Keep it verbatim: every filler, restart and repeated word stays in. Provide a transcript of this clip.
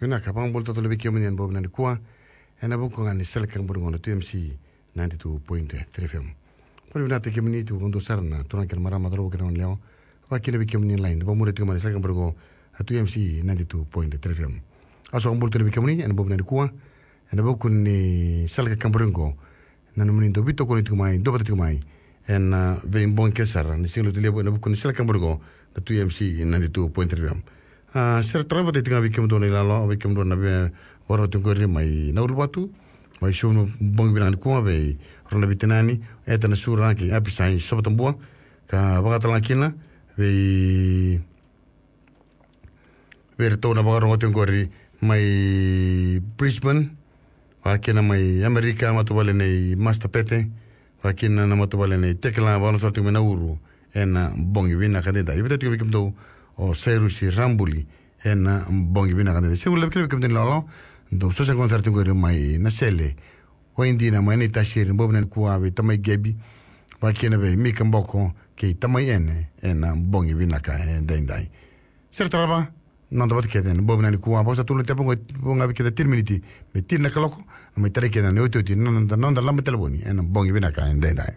Vinaka, vakabula tale vei kemuni ena bogi vinaka nikua. Ena vuku ga ni sala ni Kakaborigo na two M C ninety-two point three F M. Vakavinavinaka kemuni tu vakadua sara na turaga kei na marama, cauravou kei na goneyalewa. Vakakina vei kemuni line, vakamuri tiko mai na sala ni Kakaborigo na two M C ninety-two point three F M. Au sa vakabula tu vei kemuni ena bogi vinaka nikua. Ena vuku ni sala ni Kakaborigo, na nomuni dau veitokoni tiko mai, duavata tiko mai ena, ah, veibogi kece sara ni Siga Lotu levu ena vuku ni sala ni Kakaborigo na two M C ninety-two point three F M. Ah, se ra tarava tiko ga vei kemudou na ilalo, vei kemudou na veivakarau tiko qori mai Nauluvatu, mai Suva, bogi vinaka nikua vei rau na veitinani, Eta Nasura kei Apisai Sovatabua, ka vaka tale ga kina vei vei iratou na vakarogo tiko qori mai Brisbane, vakakina mai Amerika, matavuvale nei Master Pete, vakakina na matavuvale nei Tekila, vakarogo sara tiko mai Nauru ena bogi vinaka edaidai. Vei tiko vei kemudou o Sairusi Rabuli ena bogi vinaka edaidai. Sega ni levu kina vei kemudou na ilalo, dou sa sega ni sara tiko qori mai Nasele, Waidina, mai Naitasiri, bogi vinaka nikua vei tamai Gebi, vakakina vei Mika Boko kei tamai Ene ena bogi vinaka edaidai. Se ra tarava, noda vata kece ena bogi vinaka nikua, vaka sa tukuna tiko qo, vo ga vei keda tini miniti me tini na kaloko, na mai tarai keda na iotioti na noda, noda laba talevoni ena bogi vinaka edaidai.